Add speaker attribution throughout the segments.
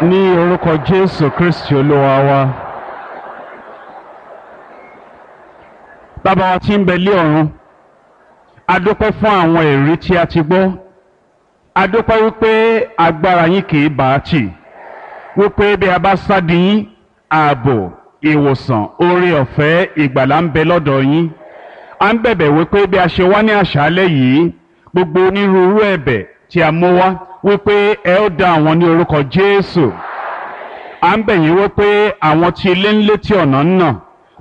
Speaker 1: Ní orúkọ Jésù Kristi Olúwa wa. Bàbá wa tí ń bẹ lé ọ̀run, a dúpẹ́ fún àwọn ẹ̀rí tí a ti gbọ́. A dúpẹ́ wípé agbára yín kì í bá a tì. Wípé bí a bá sádi yín, ààbò, ìwòsàn, oore ọ̀fẹ́, ìgbàlà ń bẹ lọ́dọ̀ yín. A ń bẹ̀bẹ̀ wípé bí a ṣe wá ní àṣálẹ́ yìí, gbogbo onírúurú ẹ̀bẹ̀ tí a mú wá wípé ẹ ó dá àwọn ní orúkọ Jésù. À ń bẹ̀ yín wípé àwọn tí ilé ń létí ọ̀nà ń nà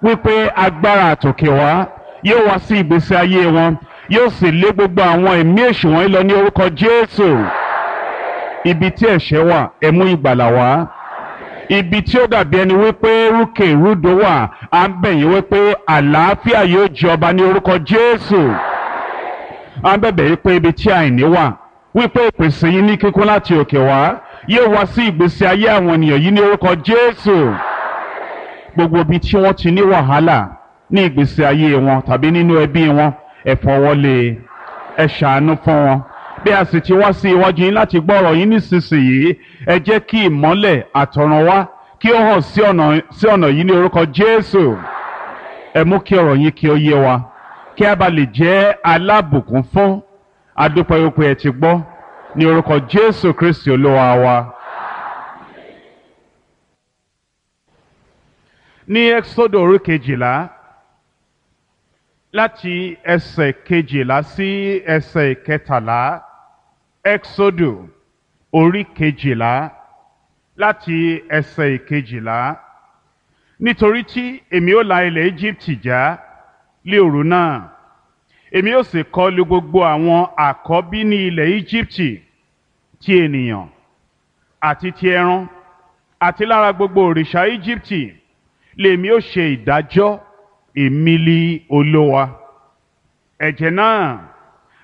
Speaker 1: wípé agbára àtòkè wá yóò wá sí ìgbésí ayé wọn, yóò sì lé gbogbo àwọn ẹ̀mí èṣù wọ̀nyí lọ ní orúkọ Jésù. Ibi tí ẹ̀ṣẹ̀ wà, ẹ mú ìgbàlà wá. Ibi tí ó dàbí ẹni wípé rúkè rúdò wà, à ń bẹ̀ yín wípé àlàáfíà yóò jọba ní orúkọ Jésù. À ń bẹ̀bẹ̀ wípé ibi tí àìní wà, wípé ìpèsè yín ní kíkún láti òkè wá yóò wá sí ìgbésí ayé àwọn ènìyàn yìí ní orúkọ Jésù. Gbogbo ibi tí wọ́n ti ní wàhálà ní ìgbésí ayé wọn tàbí nínú ẹbí wọn, ẹ fọwọ́lé, ẹ ṣàánú fún wọn. Bí a sì ti wá sí iwájú yín láti gbọ́ ọ̀rọ̀ yín nísinsìnyí, ẹ jẹ́ kí ìmọ́lẹ̀ àtọ̀run wá kí ó hàn sí ọ̀nà yìí ní orúkọ Jésù. Ẹ mú kí ọ̀rọ̀ yín kí ó yé wa, kí a bá lè jẹ́ alábùkún fún. A dúpẹ́ wípé ẹ ti gbọ́ ní orúkọ Jésù Kristi Olúwa wa. Ní Ẹ́kísódù orí 12, láti ẹsẹ̀ 12 sí ẹsẹ̀ 13. Ẹ́kísódù orí 12 láti ẹsẹ̀ 12. Nítorí tí èmi ó la ilẹ̀ Íjíbítì já lé òru náà, èmi ó sì kọlù gbogbo àwọn àkọ́bí ní ilẹ̀ Íjíbítì, ti ènìyàn àti ti ẹran, àti lára gbogbo òrìṣà Íjíbítì lèmi ó ṣe ìdájọ́, èmi li Olúwa. Ẹ̀jẹ̀ náà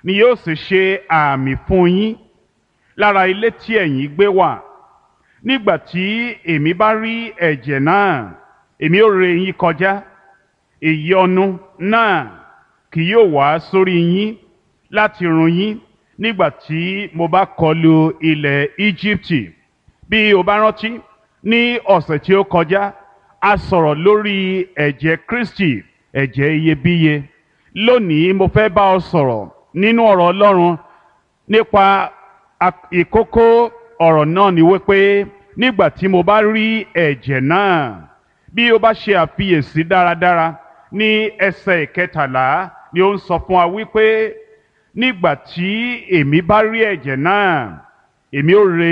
Speaker 1: ni yóò sì ṣe àmì fún yín lára ilé tí ẹ̀yin gbé wà. Nígbà tí èmi bá rí ẹ̀jẹ̀ náà, èmi ó ré yín kọjá, ìyọnu náà kì yóò wá sórí yín láti run yín nígbà tí mo bá kọlù ilẹ̀ Íjíbítì. Bí o bá rántí, ní ọ̀sẹ̀ tí ó kọjá, a sọ̀rọ̀ lórí ẹ̀jẹ̀ Kristi, ẹ̀jẹ̀ iyebíye. Lónìí mo fẹ́ bá ọ sọ̀rọ̀ nínú ọ̀rọ̀ Ọlọ́run nípa ìkókó ọ̀rọ̀ náà ni wípé nígbà tí mo bá rí ẹ̀jẹ̀ náà. Bí o bá ṣe àfiyèsí dáradára, ní ẹsẹ̀ 13 ni ó ń sọ fún wa wípé nígbà tí èmi bá rí ẹ̀jẹ̀ náà, èmi ó ré